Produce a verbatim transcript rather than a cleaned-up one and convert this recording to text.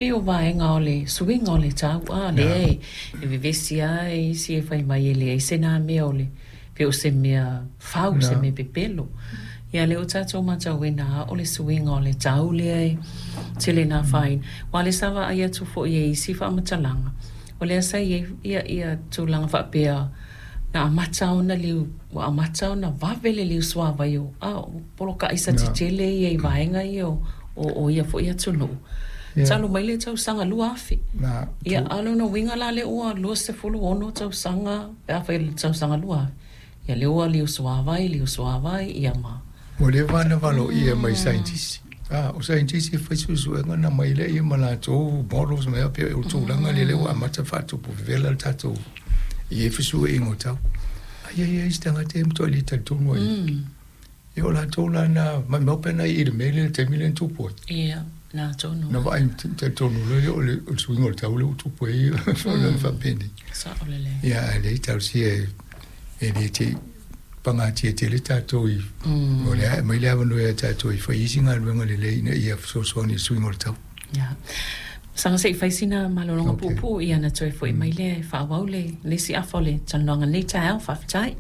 O vaega o le suiga o le tau a lea e e vevesi ai isi e fai mai e leai se na mea o le pe o se mea fau, se mea pepelo. Ia lea ua tatou matauina o le suiga o le tau lea e tele na afaina. Aua o lea sa vaai atu foi i isi faamatalaga, o lea sa i ai ia, ia tulaga faapea na amata ona liu, ua amata ona vave le liu suavai o a o poloka aisa tetele ia i vaega ia o, o, o ia foi atunuu. Talu mai le tausaga lua afe. Ia, a o lona uiga la lea ua luasefulu ono tausaga pe a fai le tausaga lua afe. Ia lea ua liu suavai, liu suavai, ia ma. Ua leva ona valoia mai saienitisi. A, o saienitisi e fai suesuega na mai lea ma latou models ma pei o tulaga lea ua amata faatupu vevela le tatou i e fesuiaiga o tau. Ai ai ai se tagata e matuai le talitonu ai. Ia o latou la na maumau pe na i le mea lea i le taimi lea na tupu ai. Ia, na tonu. Na vaai talitonu loa o le o le suiga o le tau lea ua tupu ai o le faapenei. Sao lelei. Ia ae leai talosia e e le te i pagatia tele tatou i o le a aumai le avanoa ia tatou e fai isi galuega lelei ina ia fesoasoani i le suiga o le tau. Ia. Saga se i fai sina malologa puupuu ia ona toe foi mai lea e faaauau le le isi afa o le talanoaga i lenei taeao. Faafetai.